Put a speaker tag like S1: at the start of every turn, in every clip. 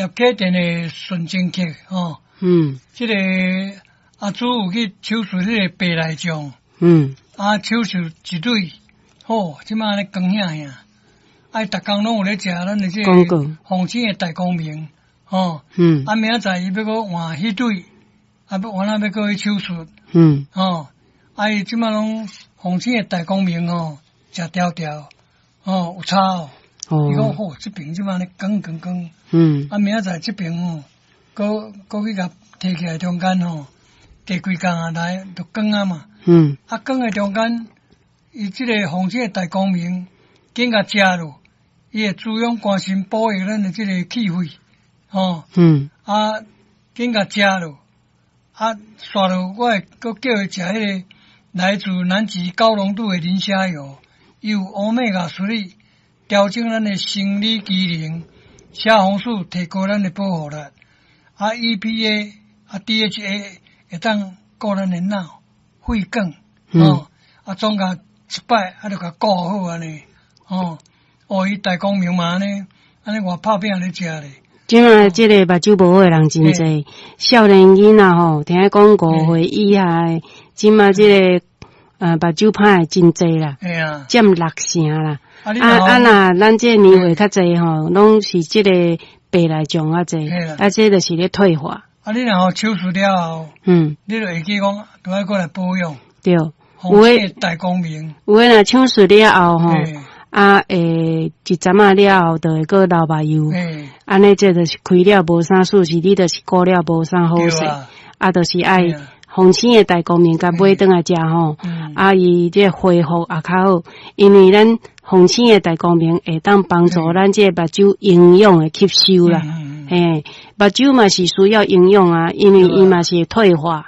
S1: 葉啟田的純正曲吼。這个阿祖有去手術彼个白內障。啊，手術一對，好，這馬按呢光顯顯。啊，逐工攏有咧食咱的這個鳳星的大光明，吼。啊，明仔載伊欲閣換彼對，啊，欲換啊，欲閣去手術。吼，啊，伊這馬攏鳳星的大光明吼，食條條，吼，有差哦。伊講好，這爿這馬按呢光光光。啊，明仔載這爿吼，閣閣去共提起來中間吼，第幾工啊來就光啊嘛。啊，光的中間，伊這個鳳星的大光明，緊共食落，伊會滋養肝腎，保育咱的這个氣血，吼。啊，緊共食落，啊，煞落我會閣叫伊食彼個來自南極高濃度的磷蝦油，伊有 Omega 3，調整咱的生理機能，蝦紅素提高咱的保護力，啊，EPA 啊 DHA 會當顧咱的腦、血管，吼，啊，總共一擺啊，就共顧好按呢，吼，哦，伊大光明嘛按呢，按呢我拍拚咧食咧。
S2: 這馬這个目睭無好的人真濟，少年囡仔吼，聽講5歲以下的，這馬這个目睭歹的真濟啦，佔六成啦。啊啊，若咱這个年歲較濟吼，攏是這个白內障較濟，啊，這就是咧退化。
S1: 啊，你若吼手術了後，你就會記講，都愛過來保養。
S2: 對，
S1: 有的大光明。
S2: 有的若手術了後吼，啊，會一陣仔了後，就會閣流目油。按呢，這就是開了無啥事，是你就是顧了無啥好勢。啊，就是愛鳳星的大光明共買轉來食吼。啊，伊這恢復也較好，因為咱鳳星的大光明會當幫助咱這个目睭營養的吸收啦。嘿，目睭嘛是需要營養啊，因為伊嘛是會退化。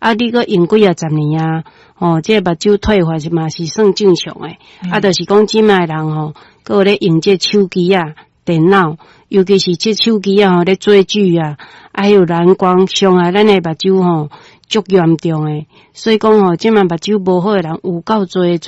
S2: 啊，你閣用幾仔十年啊，吼，這个目睭退化是嘛是算正常的。啊，就是講這馬的人吼，閣有咧用這手機啊、電腦，尤其是這手機啊吼咧追劇啊，還有藍光傷害咱的目睭吼，足嚴重的。所以講吼，這馬目睭無好的人有夠濟。